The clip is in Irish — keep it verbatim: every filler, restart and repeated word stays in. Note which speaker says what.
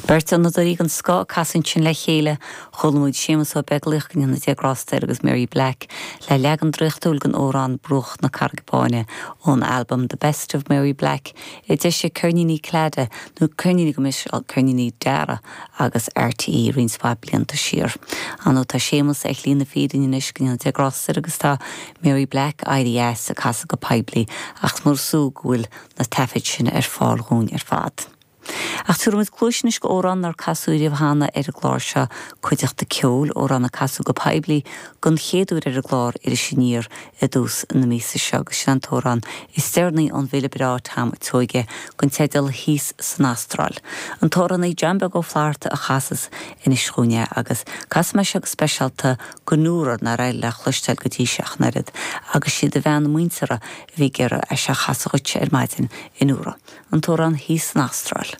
Speaker 1: Beirt fhonnadóirí den scoth ag casadh ansin le chéile, chuala muid Séamus Ó Beaglaoich go ndéana Dia grásta air agus Mary Black le leagan draíochtúil den amhrán Bruach na Carraige Báine ón albam The Best of Mary Black a d'eisigh Ceirníní Clada nó ceirníní go mis ceirníní Dara agus RTÉ roinnt mhaith blianta siar. Ar ndóigh tá Séamus ar shlí na fírinne anois go ndéana Dia grásta air agus tá Mary Black éirithe as ag casadh go poiblí ach mór sú go bhfuil na taifid sin ar fáil dhúinn ar fad. Ach tabharfaimid cluas anois d'amhrán nár casadh riamh cheana ar an gclár seo cuideachta ceoil amhrán a casadh go poiblí den chéad uair ar an gclár Iris Aniar i dtús na míosa seo agus sin an t-amhrán is deireanaí ón bhfile breá Tom Seoighe den teideal Thíos san Astráil. An t-amhránaí John Beag Ó Flatharta a chasas anois dhúinn é agus casfaidh mé seo go speisialta go Nóra nár éirigh léi cloisteáil go dtí seo ach an oiread agus siad a bhean muinteartha a bhí ag iarraidh é seo a chasadh dhuit ar maidin a Nóra. An t-amhrán Thíos san Astráil.